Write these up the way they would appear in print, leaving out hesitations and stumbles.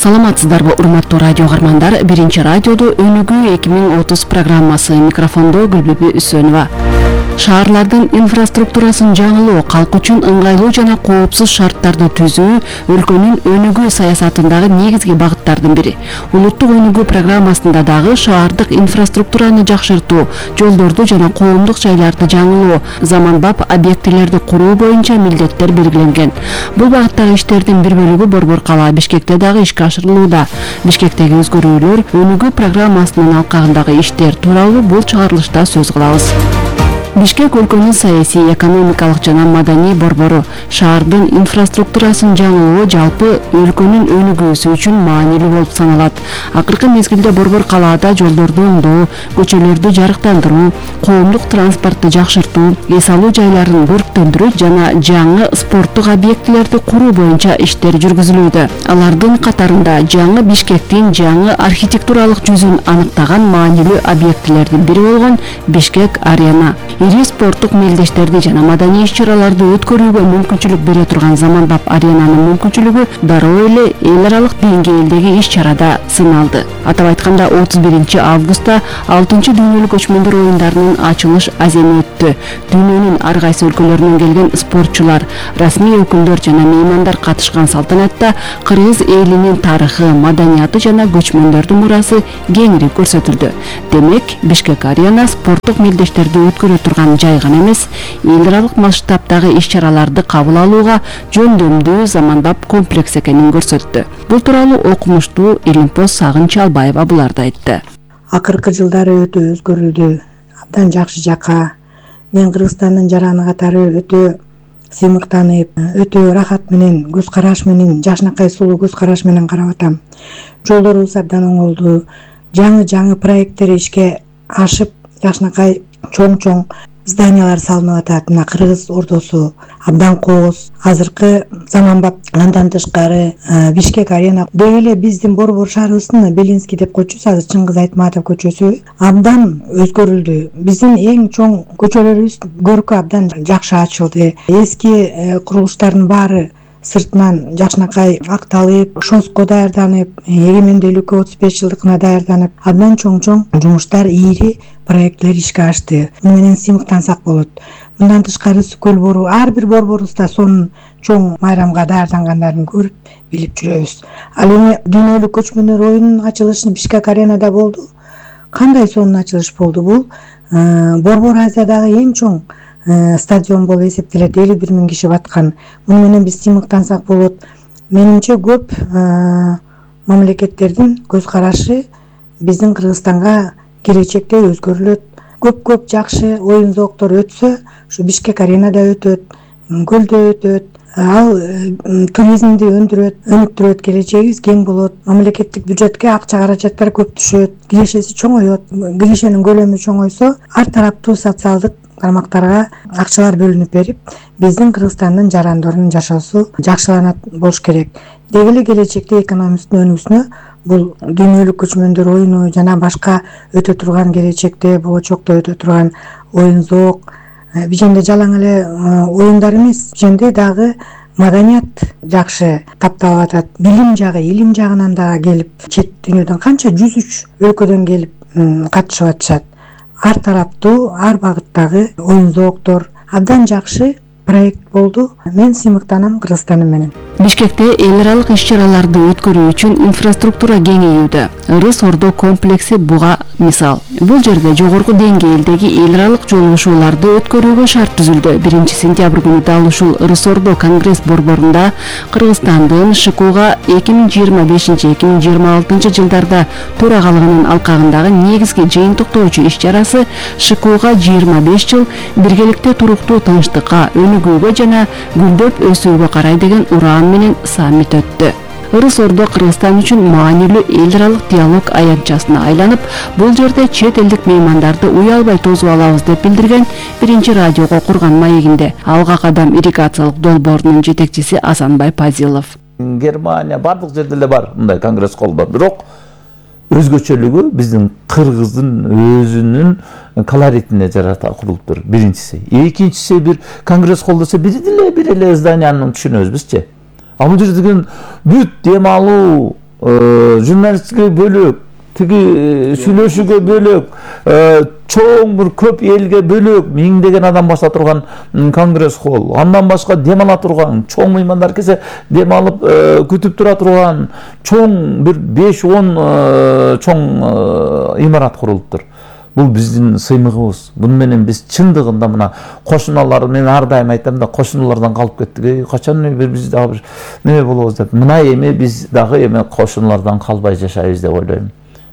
Саламатсыздарбы, урматтуу радио каармандар. Биринчи радиодо өнүгүү 2030 программасы, микрофондо Гүлбүбү Үсөнова. Шаарлардын инфраструктурасын жаңылоо, калк үчүн ыңгайлуу жана коопсуз шарттарды түзүү өлкөнүн өнүгүү саясатындагы негизги багыттардын бири. Улуттук өнүгүү программасында дагы шаардык инфраструктураны жакшыртуу, жолдорду жана коомдук жайларды жаңылоо, заманбап объектилерди куруу боюнча милдеттер белгиленген. Бул багыттагы иштердин бир бөлүгү Борбор кала Бишкекте дагы ишке ашырылууда. Бишкектеги өзгөрүүлөр, өнүгүү программасынын алкагындагы иштер тууралуу бул чыгарылышта сөз кылабыз. Бишкек өлкөнүн саясий, экономикалык жана маданий борбору. Шаардын инфраструктурасын жаңылоо жалпы өлкөнүн өнүгүүсү үчүн маанилүү болуп саналат. Акыркы мезгилде Борбор калаада жолдорду оңдоо, көчөлөрдү жарыктандыруу, коомдук транспортду жакшыртуу, эс алуу жайларын көрктөндүрүү жана жаңы спорттук объектилерди куруу боюнча иштер жүргүзүлүүдө. Алардын катарында жаңы Бишкектин жаңы архитектуралык жүзүн аныктаган маанилүү объектилердин бири болгон Бишкек арена. Ири спорттук мелдештерди жана маданий иш-чараларды өткөрүүгө мүмкүнчүлүк бере турган заманбап аренанын мүмкүнчүлүгү дароо эле эл аралык деңгээлдеги иш-чарада сыналды. Атап айтканда 31 августта 6-чы дүйнөлүк көчмөндөр оюндарынын ачылыш аземи өттү. Дүйнөнүн ар кайсы өлкөлөрүнөн келген спортчулар, расмий өкүлдөр жана меймандар катышкан салтанатта кыргыз элинин тарыхы, маданияты жана көчмөндөрдүн мурасы кеңири көрсөтүлдү. Демек, Бишкек арена спорттук мелдештерди өткөрө турган жай гана эмес, эл аралык масштабдагы иш-чараларды кабыл алууга жөндөмдүү заманбап комплекс экенин көрсөттү. Бул тууралуу окумуштуу Илимпоз Сагынч Албаева буларды айтты. Акыркы жылдары өтө өзгөрүлдү, абдан жакшы жака. Мен Кыргызстандын жараны катары өтө сыймыктанып, өтө рахат менен, көз караш менен, жашнакай сулуу көз караш менен карап атам. Жолдорубуз абдан оңолду, жаңы проекттер ишке ашып, жашнакай чоң зданиялар салынып атат. Мына Кыргыз ордосу абдан кооз. Азыркы заманбап андан тышкары Бишкек арена. Деги эле биздин Борбор шаарыбыздын Белинский деп койчубуз, азыр Чыңгыз Айтматов көчөсү абдан өзгөрүлдү. Биздин эң чоң көчөлөрүбүз көркү абдан жакшы ачылды. Эски курулуштардын баары сыртынан жашнакай акталып, ШОСко даярданып, эгемендүүлүккө 35 жылдыкына даярданып, абдан чоң жумуштар, ийри проекттер ишке ашты. Муну менен сыймыктансак болот. Мындан тышкары Сүкөл бору, ар бир борборубузда сонун чоң майрамга даярдангандарын көрүп, билип жүрөбүз. Ал эми дүйнөлүк көчмөндөр оюнунун ачылышы Бишкек аренада болду. Кандай сонун ачылыш болду бул? Борбор Азиядагы эң чоң стадион болуп эсептелет, 51 000 киши баткан. Муну менен биз сыймыктансак болот. Менимче көп мамлекеттердин көз карашы биздин Кыргызстанга келечекте өзгөрүлөт. Көп жакшы оюн зооктор өтсө, ушу Бишкек аренада өтөт, көлдө өтөт. Ал туризмди өнүктүрөт, келечегибиз кең болот. Мамлекеттик бюджетке акча каражаттар көп түшөт, кирешеси чоңойот. Киришенин көлөмү чоңойсо, ар тараптуу социалдык тармактарга акчалар бөлүнүп берип, биздин Кыргызстандын жарандорунун жашоосу жакшыланат болуш керек. Деги эле келечекте экономиканын өнүгүүсүнө бул дүйнөлүк көчмөндөр оюну жана башка өтө турган келечекте, болочокто өтө турган оюн зоок, биженде жалаң эле оюндар эмес, биженде дагы маданият жакшы тапталып атат. Билим жагы, илим жагынан дагы келип, чет дүйнөдөн канча 103 өлкөдөн келип катышып атышат. Ар тараптуу, ар багыттагы оюн зооктор абдан жакшы проект болду. Мен сыймыктанам Кыргызстан менен. Бишкекте эл аралык иш-чараларды өткөрүү үчүн инфраструктура кеңейүүдө. Ырыс Ордо комплекси буга мисал. Бул жерде жогорку деңгээлдеги эл аралык жолугушууларды өткөрүүгө шарт түзүлдү. 1 сентябрь күнү дал ушул Ырыс Ордо конгресс борборунда Кыргызстандын ШКУга 2025-2026 жылдарда төрагалыгынын алкагындагы негизги жыйынтыктоочу иш-чарасы ШКУга 25 жыл биргеликте туруктуу тынчтыкка, өнүгүүгө жана гүлдөп өсүүгө карай деген ураан менен саммит өттү. Ырыс Ордо Кыргызстан үчүн маанилүү эл аралык диалог аянтчасына айланып, бул жерде чет элдик меймандарды уялбай тосуп алабыз деп билдирген биринчи радиого курган маегинде Алга кадам ирригациялык долбоорунун жетекчиси Асанбай Пазилов. Германия бардык жерде эле бар мындай конгресс колдор, бирок өзгөчөлүгү биздин кыргыздын өзүнүн колоритине жарата курулуптур. Биринчиси. Экинчиси бир конгресс колдосо бир эле зданияны түшүнөбүз бизчи. А бул жерде деген бүт дем алуу журналистке бөлөк, тиги сүйлөшүүгө бөлөк, чоң бир көп элге бөлөк миңдеген адам баса турган конгресс холл, андан башка дем ала турган, чоң меймандар келсе дем алып күтүп тура турган чоң бир 5-10 чоң имарат курулуптур. Бул биздин сыймыгыбыз. Буну менен биз чындыгында мына кошуналар, мен ар дайым айтам да, кошуналардан калып кеттик. Качан биз дагы бир неме болобуз деп. Мына эми биз дагы эми кошуналардан калбай жашайбыз деп ойлойм.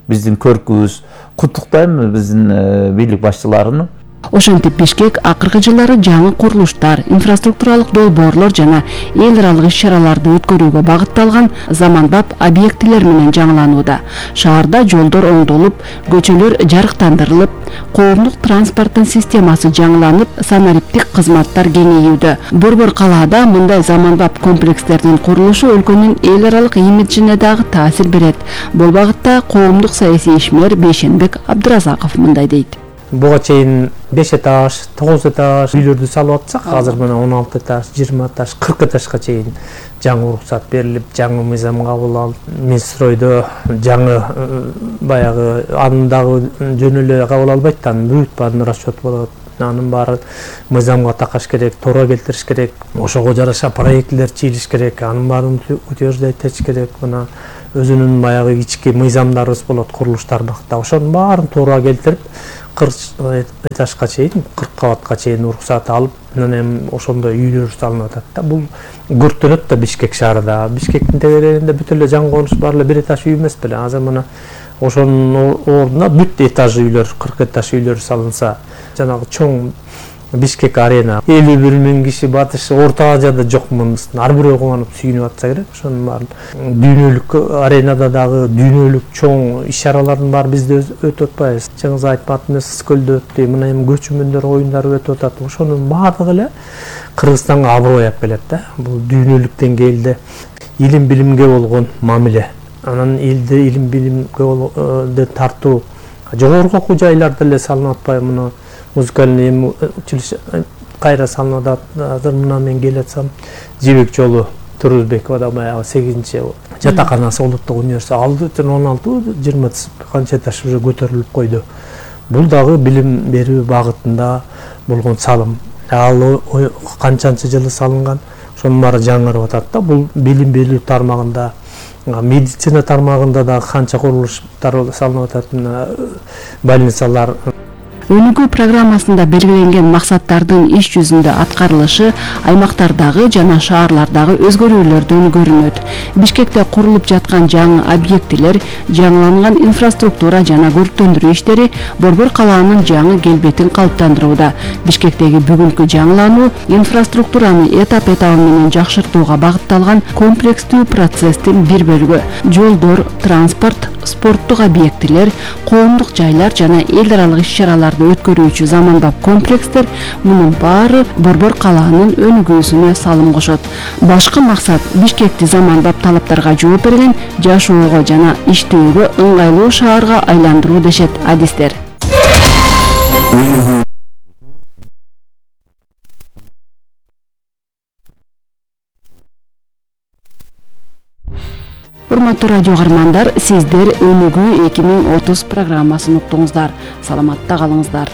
Биздин көркүбүз. Куттуктайм биздин бийлик башчыларын. Ошентип Бишкек акыркы жылдары жаңы курулуштар, инфраструктуралык долбоорлор жана эл аралык иш-чараларды өткөрүүгө багытталган заманбап объектилер менен жаңыланууда. Шаарда жолдор оңдолуп, көчөлөр жарыктандырылып, коомдук транспорттун системасы жаңыланып, санариптик кызматтар кеңейүүдө. Борбор калаада мындай заманбап комплекстердин курулушу өлкөнүн эл аралык имиджине дагы таасир берет. Бул багытта коомдук саясий ишмер Бейшенбек Абдыразаков мындай дейт. Буга чейин 5 этаж, 9 этаж үйлөрдү салып атсак, азыр мына 16 этаж, 20 этаж, 40 этажга чейин жаңы уруксат берилип, жаңы мыйзам кабыл алып, Минстройдо жаңы баягы анын дагы жөн эле кабыл албайт да, бүт баарын расчет болот. Анын баары мыйзамга такаш керек, туура келтириш керек, ошого жараша проектлер чийилиш керек, анын баарын утверждать этиш керек. Мына өзүнүн баягы ички мыйзамдарыбыз болот курулуштардыкта. Ошонун баарын туура келтирип 40 этажга чейин, 40 кабатка чейин уруксат алып, анан ошондой үйлөр салынып атат да. Бул көрктөнөт да Бишкек шаарында. Бишкектин тегерегинде бүт эле жаңы конуш бар эле 1 этаж үй эмес беле. Азыр мына ошонун ордуна бүт этаж үйлөр, 40 этаж үйлөр салынса, жанагы чоң Бишкек арена 51.000 киши батыш Орто Азияда жок мындыстын. Ар бирөө кубанып сүйүнүп атса керек. Ошонун баарын дүйнөлүк аренада дагы дүйнөлүк чоң иш-чаралардын баары бизде өтүп атпайбы. Чыңгыз Айтматовдун Скөлдө өттү, мына эми көчмөндөр оюндары өтүп атат. Ошонун баардыгы эле Кыргызстанга аброй алып келет да. Бул дүйнөлүк деңгээлде илим билимге болгон мамиле. Анан элди илим билимге тартуу жогорку окуу жайларда эле салынып атпайбы. Мына музыкальный училище кайра салынып атат. Азыр мына мен келатсам Жибек жолу Турузбековада баягы 8-чи жатаканасы улуттук университет алды 16-20 канча этаж уже көтөрүлүп койду. Бул дагы билим берүү багытында болгон салым. Ал канчанчы жылы салынган, ошонун баары жаңырып атат да. Бул билим берүү тармагында, медицина тармагында да канча курулуштар салынып атат, больницалар. Өнүгүү программасында белгиленген максаттардын иш жүзүндө аткарылышы аймактардагы жана шаарлардагы өзгөрүүлөрдөн көрүнөт. Бишкекте курулуп жаткан жаңы объектилер, жаңыланган инфраструктура жана көрктөндүрүү иштери Борбор калаанын жаңы келбетин калыптандырууда. Бишкектеги бүгүнкү жаңылануу инфраструктураны этап-этабы менен жакшыртууга багытталган комплекстүү процесстин бир бөлүгү. Жолдор, транспорт, спорттук объектилер, коомдук жайлар жана эл аралык иш-чараларды өткөрүүчү заманбап комплекстер мунун баары Борбор калаанын өнүгүүсүнө салым кошот. Башкы максат Бишкекти заманбап талаптарга жооп берген, жашоого жана иштөөгө ыңгайлуу шаарга айландыруу дешет адистер. Урматтуу радио каармандар, сиздер Өнүгүү 2030 программасын уктуңуздар. Саламатта калыңыздар.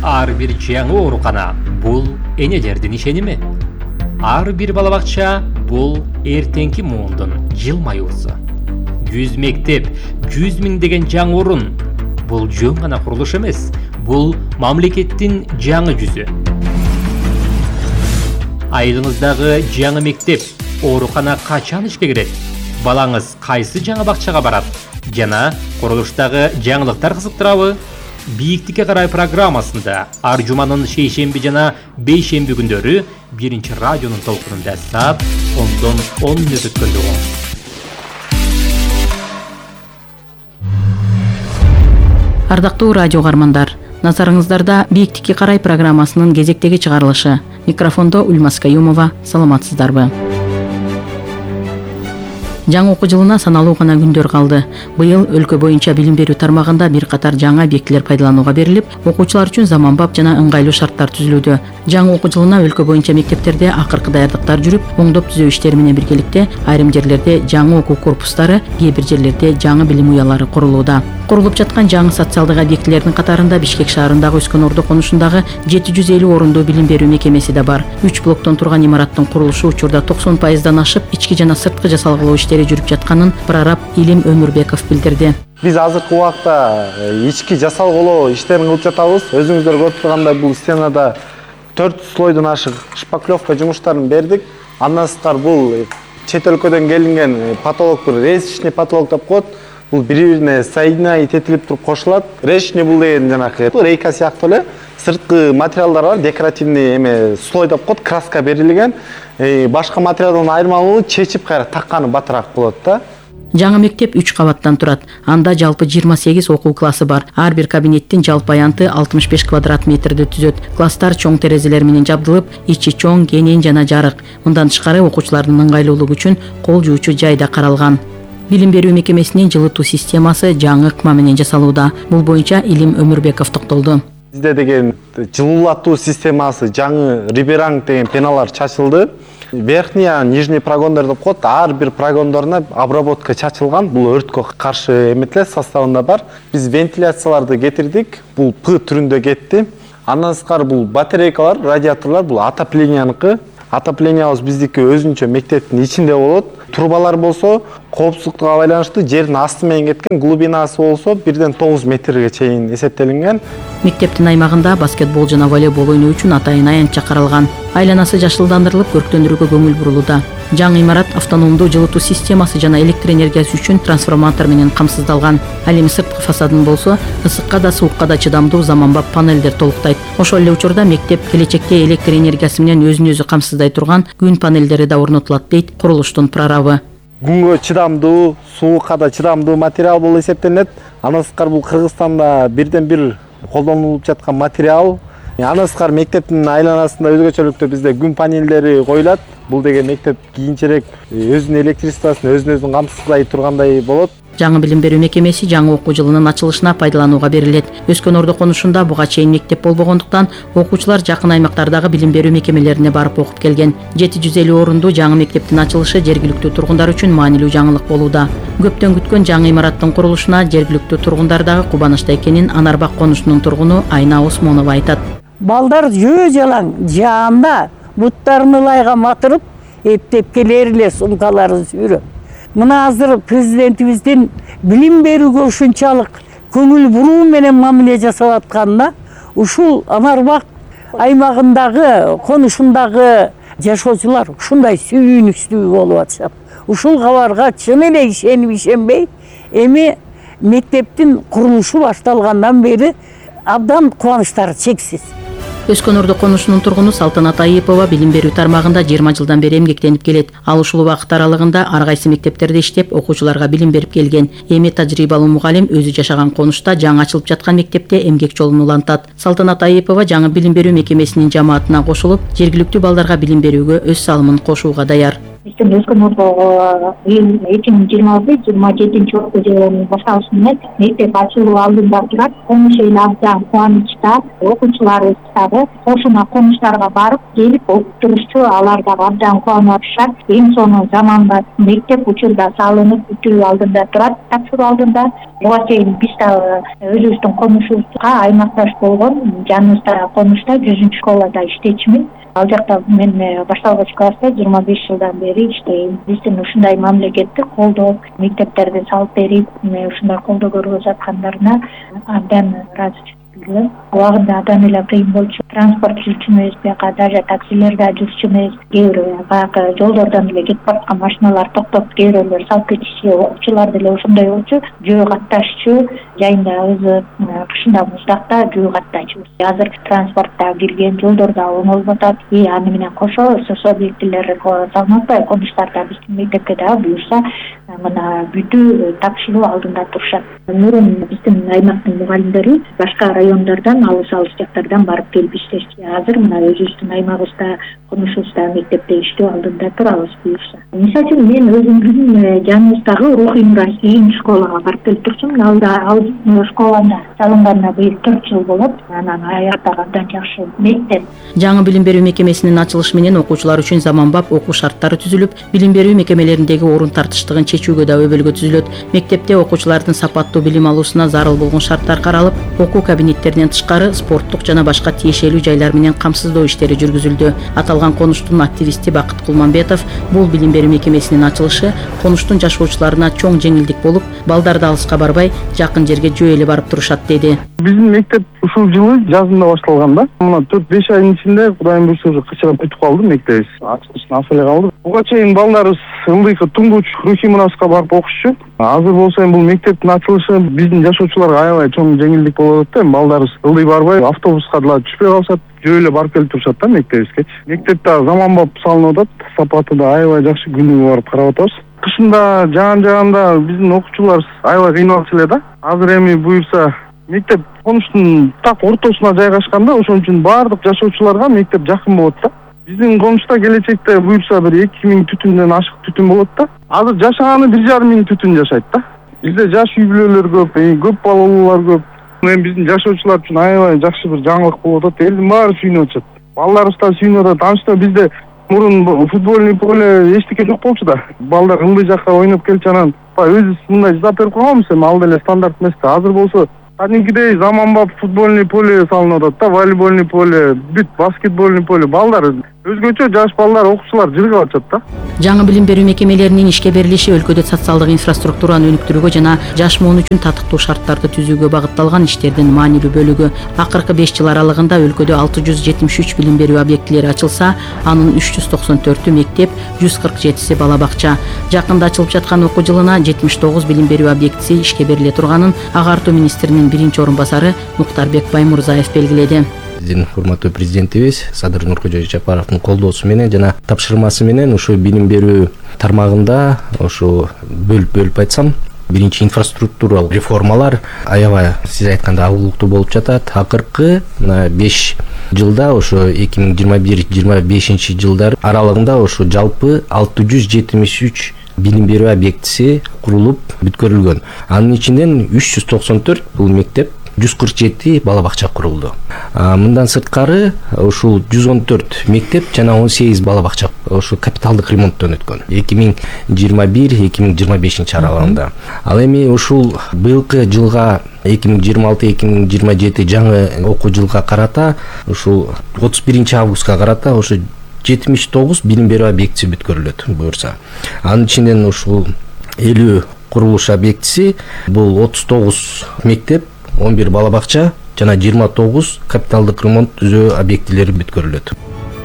Ар бир жаңы оорукана бул энелердин ишеними. Ар бир бала бакча бул эртеңки муундун жылмаюусу. 100 мектеп, 100 миң деген жаңы орун. Бул жөн гана курулуш эмес, бул мамлекеттин жаңы жүзү. Айылыңыздагы жаңы мектеп, оорукана качан ишке кирет? Балаңыз кайсы жаңы бакчага барат? Жана курулуштагы жаңылыктар кызыктырабы? Бийиктикке карай программасында ар жуманын шейшемби жана бейшемби күндөрү 1-чи радионун толкунунда саат 10 мүнөт өткөндө угуңуз. Ардактуу радио каармандар, назарыңыздарда Бийиктикке карай программасынын кезектеги чыгарылышы. Микрофондо Ульмас Каюмова, саламатсыздарбы? Жаңы окуу жылына саналуу гана күндөр калды. Быйыл өлкө боюнча билим берүү тармагында бир катар жаңы объектилер пайдаланууга берилип, окуучулар үчүн заманбап жана ыңгайлуу шарттар түзүлүүдө. Жаңы окуу жылына өлкө боюнча мектептерде акыркы даярдыктар жүрүп, оңдоп түзөө иштери менен биргеликте айрым жерлерде жаңы окуу корпустары, кээ бир жерлерде жаңы билим уялары курулууда. Курулуп жаткан жаңы социалдык объектилердин катарында Бишкек шаарындагы Өскөн Ордо конушундагы 750 орундуу билим берүү мекемеси да бар. 3 блоктон турган имараттын курулушу учурда 90%дан ашып, ички жана сырткы жасалгалоо иштери жүрүп жатканын прораб Илим Өмүрбеков билдирди. Биз азыркы убакта ички жасалгалоо иштерин кылып жатабыз. Өзүңүздөр көрүп тургандай бул стенада 4 слойдон ашык шпаклевка жумуштарын бердик. Андан сырткары бул чет өлкөдөн келинген потолок, бир резечный потолок деп коет. Бул бири-бирине соединять этилип туруп кошулат. Резечный бул деген жанакы рейка сыяктуу эле сырткы материалдар бар, декоративный эме слой деп коет, краска берилген. Башка материалдан айырмалуу чечип кайра такканы батыраак болот да. Жаңы мектеп 3 кабаттан турат. Анда жалпы 28 окуу классы бар. Ар бир кабинеттин жалпы аянты 65 квадрат метрди түзөт. Класстар чоң терезелер менен жабдылып, ичи чоң, кенен жана жарык. Мындан тышкары окуучулардын ыңгайлуулугу үчүн кол жуучу жай да каралган. Билим берүү мекемесинин жылытуу системасы жаңы ыкма менен жасалууда. Бул боюнча Илим Өмүрбеков токтолду. Бизде деген жылуулатуу системасы жаңы риберанг деген пеналар чачылды. Верхний, нижний прогондор деп коет. Ар бир прогондоруна обработка чачылган. Бул өрткө каршы эметилет составында бар. Биз вентиляцияларды кетирдик. Бул П түрүндө кетти. Андан сырткары бул батарейкалар, радиаторлор бул отопленияныкі. Отоплениябыз биздики өзүнчө мектептин ичинде болот. Трубалар болсо коопсуздукка байланыштуу жердин асты менен кеткен, глубинасы болсо 1-9 метрге чейин эсептелинген. Мектептин аймагында баскетбол жана волейбол ойноо үчүн атайын аянтча каралган. Айланасы жашылдандырылып, көрктөндүрүүгө көңүл бурулууда. Жаңы имарат автономдуу жылытуу системасы жана электр энергиясы үчүн трансформатор менен камсыздалган. Ал эми сырткы фасадын болсо ысыкка да суукка да чыдамдуу заманбап панелдер толуктайт. Ошол эле учурда мектеп келечекте электр энергиясы менен өзүн өзү камсыздай турган күн панелдери да орнотулат дейт курулуштун прорабы. Күнгө чыдамдуу, суукка да чыдамдуу материал болуп эсептелет. Андан сырткары бул Кыргызстанда бирден бир колдонулуп жаткан материал. Андан сырткары мектептин айланасында өзгөчөлүктө бизде күн панелдери коюлат. Бул деген мектеп кийинчерээк өзүнүн электричествосун өзүн камсыздай тургандай болот. Жаңы билим берүү мекемеси жаңы окуу жылынын ачылышына пайдаланууга берилет. Өскөн Ордо конушунда буга чейин мектеп болбогондуктан окуучулар жакын аймактардагы билим берүү мекемелерине барып окуп келген. 750 орундуу жаңы мектептин ачылышы жергиликтүү тургундар үчүн маанилүү жаңылык болууда. Көптөн күткөн жаңы имараттын курулушуна жергиликтүү тургундар дагы кубанычта экенин Анарбак конушунун тургуну Айна Осмонова айтат. Балдар жөө жалаң жаанда буттарын ылайга матырып, эптеп келер эле сумкаларын сүйрөп. Мына азыр президентибиздин билим берүүгө ушунчалык көңүл буруу менен мамиле жасап атканына ушул Анарбак аймагындагы конушундагы жашоочулар ушундай сүйүнүксүз болуп атышат. Ушул кабарга чын эле ишенип ишенбей, эми мектептин курулушу башталгандан бери абдан кубанычтары чексиз. Өскөн Ордо конушунун тургуну Салтанат Айыпова билим берүү тармагында 20 жылдан бери эмгектенип келет. Ал ушул убакыт аралыгында ар кайсы мектептерде иштеп, окуучуларга билим берип келген. Эми тажрыйбалуу мугалим өзү жашаган конушта жаңы ачылып жаткан мектепте эмгек жолун улантат. Салтанат Айыпова жаңы билим берүү мекемесинин жамаатына кошулуп, жергиликтүү балдарга билим берүүгө өз салымын кошууга даяр. Биздин Өскөн Ордого 2026-27 окуу жылынын башталышы менен мектеп ачылуу алдында турат. Конуш эл абдан кубанычта, окуучуларыбыз дагы кошуна конуштарга барып келип окуп турушчу, алар дагы абдан кубанып атышат. Эң сонун заманбап мектеп учурда салынып бүтүү алдында турат, тапшыруу алдында. Буга чейин биз дагы өзүбүздүн конушубузга аймакташ болгон жаныбызда конушта 100 школада иштечүмүн. Ал жакта мен башталгыч класста 25 жылдан бери иштейм. Биздин ушундай мамлекетти колдоп, мектептерди салып берип, ушундай колдоо көрүп жаткандарына абдан ыраазычылык билдирем. Убагында абдан эле кыйын болчу. Транспорт жүрчүмүз, бияка даже таксилерде жүрчүмүз, кээ бир баягы жолдордон эле кетип бараткан машиналар токтоп, кээ бирөөлөр салып кетишчү, окуучулар деле ошондой болчу. Жөө катташчу, жайында өзү кышында муздакта жөө каттайчу. Азыр транспортта кирген, жолдорда оңолуп атат. Аны менен кошо СС объектилер салынып, конуштарда биздин мектепке дагы буюрса, мына бүтүү тапшыруу алдында турушат. Мурун биздин аймактын мугалимдери башка район райондордон, алыс жактардан барып келип иштешти. Азыр мына өзүбүздүн аймагыбызда, конушубузда мектепте иштөө алдында турабыз буюрса. Мисалы үчүн мен өзүмдүн жаныбыздагы Рухий Мурас ийин школага барып келип турчумун. Ал школаны салынганына быйыл 4 жыл болот. Анан аябай абдан жакшы мектеп. Жаңы билим берүү мекемесинин ачылышы менен окуучулар үчүн заманбап окуу шарттары түзүлүп, билим берүү мекемелериндеги орун тартыштыгын чечүүгө да өбөлгө түзүлөт. Мектепте окуучулардын сапаттуу билим алуусуна зарыл болгон шарттар каралып, окуу кабинеттеринен тышкары спорттук жана башка тиешелүү жайлар менен камсыздоо иштери жүргүзүлдү. Аталган конуштун активисти Бакыт Кулманбетов бул билим берүү мекемесинин ачылышы конуштун жашоочуларына чоң жеңилдик болуп, балдарды алыска барбай, жакын жерге жөө эле барып турушат деди. Биздин мектеп ушул жылы жазында башталган да. Мына 4-5 айдын ичинде Кудайым буйрса уже кычырап бүтүп калды мектебибиз. Ачылышына аса эле калды. Буга чейин балдарыбыз ылдыйкы туңгуч Рухий Мураска барып окушчу. Азыр болсо бул мектептин ачылышы биздин жашоочуларга аябай чоң жеңилдик болуп атат да. Балдарыбыз ылдый барбай, автобуска да түшпөй калышат, жөө эле барып келип турушат да мектебибизге. Мектеп да заманбап салынып атат, сапаты да аябай жакшы, күнүгө барып карап атабыз. Кышында жаан-жаганда биздин окуучулар аябай кыйналчу эле да. Азыр эми буюрса мектеп конуштун так ортосуна жайгашкан да, ошон үчүн баардык жашоочуларга мектеп жакын болот да. Биздин конушта келечекте буюрса бир 2000 түтүндөн ашык түтүн болот да. Азыр жашаганы 1500 түтүн жашайт да. Бизде жаш үй бүлөлөр көп балалуулар көп. Эми биздин жашоочулар үчүн аябай жакшы бир жаңылык болуп атат. Элдин баары сүйүнүп атышат. Балдарыбыз да сүйүнүп атат. Анчта бизде мурун футбольный поле эчтеке жок болчу да. Балдар ылдый жакка ойноп келчү, анан өзүбүз мындай жасап берип койгонбуз, эми ал деле стандарт эмес да. Азыр болсо кадимкидей заманбап футбольный поле салынып атат да, волейбольный поле, бүт баскетбольный поле. Балдар өзгөчө жаш балдар, окуучулар жыргап атышат да. Жаңы билим берүү мекемелеринин ишке берилиши өлкөдө социалдык инфраструктураны өнүктүрүүгө жана жаш муун үчүн татыктуу шарттарды түзүүгө багытталган иштердин маанилүү бөлүгү. Акыркы 5 жыл аралыгында өлкөдө 673 билим берүү объектилери ачылса, анын 394-ü мектеп, 147-си бала бакча. Жакында ачылып жаткан окуу жылына 79 билим берүү объектиси ишке бериле турганын агартуу министринин биринчи орун басары Муктарбек Баймурзаев белгиледи. Биздин урматтуу президентибиз Садыр Нуркожоевич Жапаровдун колдоосу менен жана тапшырмасы менен ушу билим берүү тармагында ушу бөлүп айтсам, биринчи инфраструктуралык реформалар аябай сиз айткандай агуулуктуу болуп жатат. Акыркы 5 жылда ошо 2021-25 жылдар аралыгында ошо жалпы 673 билим берүү объектиси курулуп бүткөрүлгөн. Анын ичинен 394 бул мектеп, 147 бала бакча курулду. Мындан сырткары ушул 114 мектеп жана 18 бала бакча ошо капиталдык ремонттон өткөн 2021-2025 аралыгында. Ал эми ушул быйылкы жылга 2026-2027 жаңы окуу жылга карата ушул 31 августка карата ошо 79 билим берүү объектиси бүткөрүлөт буюрса. Анын ичинен ушул 50 курулуш объектиси бул 39 мектеп, 11 бала бакча жана 29 капиталдык ремонт түзөө объектилери бүткөрүлөт.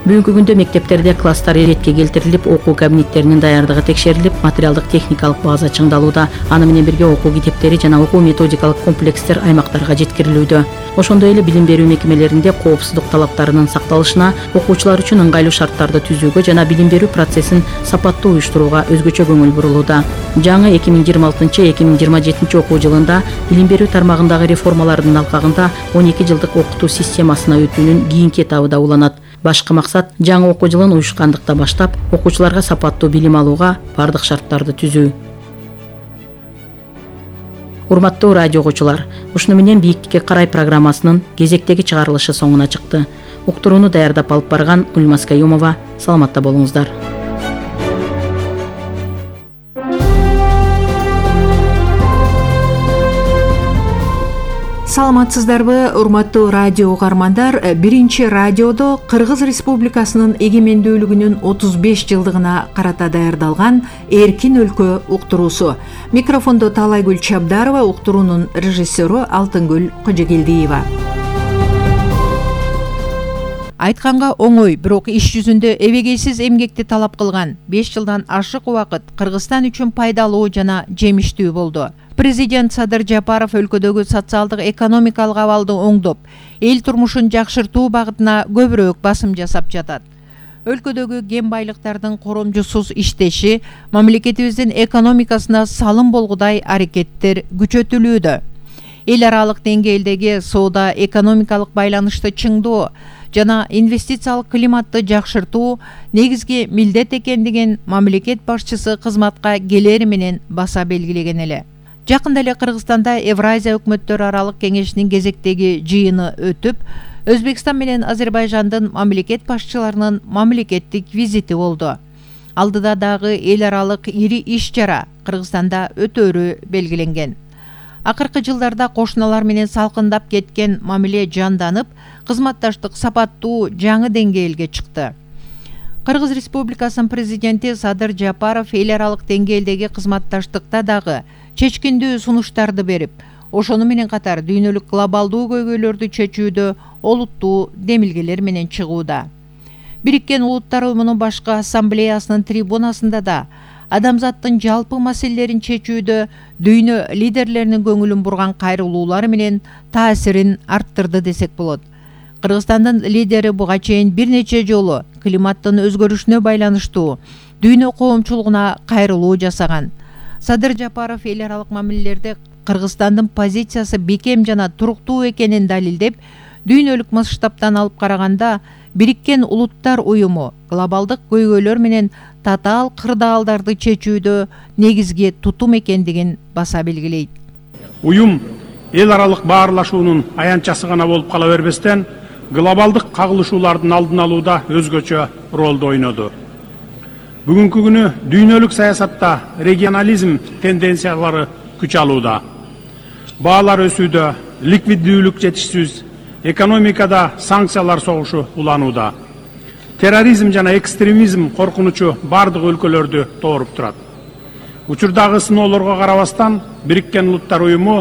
Бүгүнкү күндө мектептерде класстар иретке келтирилип, окуу кабинеттеринин даярдыгы текшерилип, материалдык техникалык база чыңдалууда. Аны менен бирге окуу китептери жана окуу методикалык комплекстер аймактарга жеткирилүүдө. Ошондой эле билим берүү мекемелеринде коопсуздук талаптарынын сакталышына, окуучулар үчүн ыңгайлуу шарттарды түзүүгө жана билим берүү процессин сапаттуу уюштурууга өзгөчө көңүл бурулууда. Жаңы 2026-2027 окуу жылында билим берүү тармагындагы реформалардын алкагында 12 жылдык окутуу системасына өтүүнүн кийинки этабы да уланат. Башкы максат жаңы окуу жылын уюшкандыкта баштап, окуучуларга сапаттуу билим алууга бардык шарттарды түзүү. Урматтуу радио окуучулар, ушуну менен Бийиктикке карай программасынын кезектеги чыгарылышы соңуна чыкты. Уктурууну даярдап алып барган Гүлмаз Каюмова, саламатта болуңуздар. Саламатсыздарбы, урматтуу радио угармандар. Биринчи радиодо Кыргыз Республикасынын эгемендүүлүгүнүн 35 жылдыгына карата даярдалган Эркин өлкө уктуруусу. Микрофондо Таалайгүл Чабдарова, уктуруунун режиссеру Алтынгүл Кожогелдиева. Айтканга оңой, бирок иш жүзүндө эбегейсиз эмгекти талап кылган 5 жылдан ашык убакыт Кыргызстан үчүн пайдалуу жана жемиштүү болду. Президент Садыр Жапаров өлкөдөгү социалдык экономикалык абалды оңдоп, эл турмушун жакшыртуу багытына көбүрөөк басым жасап жатат. Өлкөдөгү кен байлыктардын коромжусуз иштеши мамлекетибиздин экономикасына салым болгудай аракеттер күчөтүлүүдө. эл аралык деңгээлдеги соода экономикалык байланышты чыңдоо жана инвестициялык климатты жакшыртуу негизги милдет экендигин мамлекет башчысы кызматка келери менен баса белгилеген эле. Жакында эле Кыргызстанда Евразия өкмөттөр аралык кеңешинин кезектеги жыйыны өтүп, Өзбекстан менен Азербайжандын мамлекет башчыларынын мамлекеттик визити болду. Алдыда дагы эл аралык ири иш-чара Кыргызстанда өтөөрү белгиленген. Акыркы жылдарда кошуналар менен салкындап кеткен мамиле жанданып, кызматташтык сапаттуу жаңы деңгээлге чыкты. Кыргыз Республикасынын президенти Садыр Жапаров эл аралык деңгээлдеги кызматташтыкта дагы чечкиндүү сунуштарды берип, ошону менен катар дүйнөлүк глобалдуу көйгөйлөрдү чечүүдө олуттуу демилгелер менен чыгууда. Бириккен Улуттар Уюмунун башкы ассамблеясынын трибунасында да адамзаттын жалпы маселелерин чечүүдө дүйнө лидерлеринин көңүлүн бурган кайрылуулары менен таасирин арттырды десек болот. Кыргызстандын лидери буга чейин бир нече жолу климаттын өзгөрүшүнө байланыштуу дүйнө коомчулугуна кайрылуу жасаган. Садыр Жапаров эл аралык мамилелерде Кыргызстандын позициясы бекем жана туруктуу экенин далилдеп, дүйнөлүк масштабтан алып караганда Бириккен Улуттар Уюму глобалдык көйгөйлөр менен татаал кырдаалдарды чечүүдө негизги тутум экендигин баса белгилейт. Уюм эл аралык баарлашуунун аянтчасы гана болуп кала бербестен, глобалдык кагылышуулардын алдын алууда өзгөчө ролду ойноду. Бүгүнкү күнү дүйнөлүк саясатта регионализм тенденциялары күч алууда. Баалар өсүүдө, ликвиддүүлүк жетишсиз, экономикада санкциялар согушу уланууда. Терроризм жана экстремизм коркунучу бардык өлкөлөрдү тооруп турат. Учурдагы сыноолорго карабастан, Бириккен Улуттар Уюму